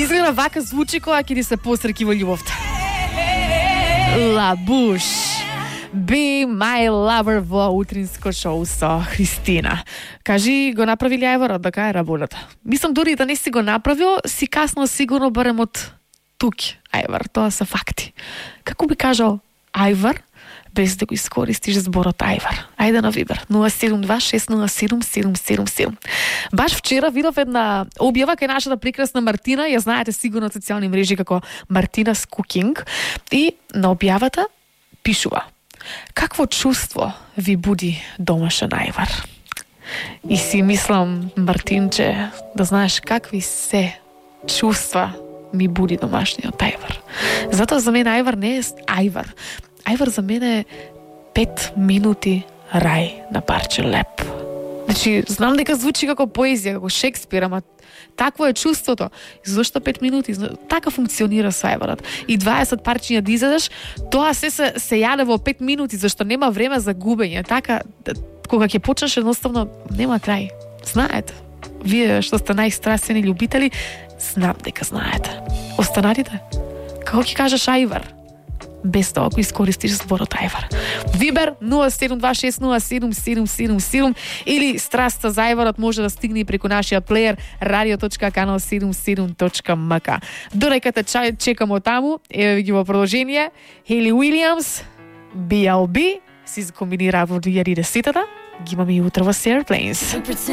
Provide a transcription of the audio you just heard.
Изгледа вака звучи кога ќе ти се посреќи во љубовта. Лабуш. Be my lover во утринско шоу со Христина. Кажи, го направи ли Ајварот да кај работата? Мислам, дури да не си го направил, си касно сигурно барем од тук, Ајвар, тоа се факти. Како би кажал Ајвар, без да го искористиш зборот Ајвар? Ајде на Вибер, 072-607-777. Баш вчера видов една објава кај нашата прекрасна Мартина, ја знаете сигурно од социјални мрежи како Мартинас Cooking, и на објавата пишува: какво чувство ви буди домашен Ајвар? И си мислам, Мартинче, да знаеш какви се чувства ми буди домашниот Ајвар. Затоа за мене Ајвар не е Ајвар. Ајвар за мене е 5 минути рај на парче леп. Значи, знам дека звучи како поезија, како Шекспир, ама такво е чувството. Зошто 5 минути? Така функционира со Ајварот. И 20 парчиња да изедеш, тоа се јаде во 5 минути, зашто нема време за губење. Така, кога ќе почнеш, едноставно нема крај. Знаете, вие што сте најстрасени љубители, знам дека знаете. Останатите, како ќе кажеш Ајвар? Без тоа ако искористиш зборот Ајвар. Вибер 072607777 или страста за Ајварот може да стигне и преку нашиот плеер radio.canal77.mk. Додека те чекамо таму, еве ги во продолжение, Хейли Уилиамс, BLB, си комбинира во 2010-та, ги имаме и утро во Airplanes.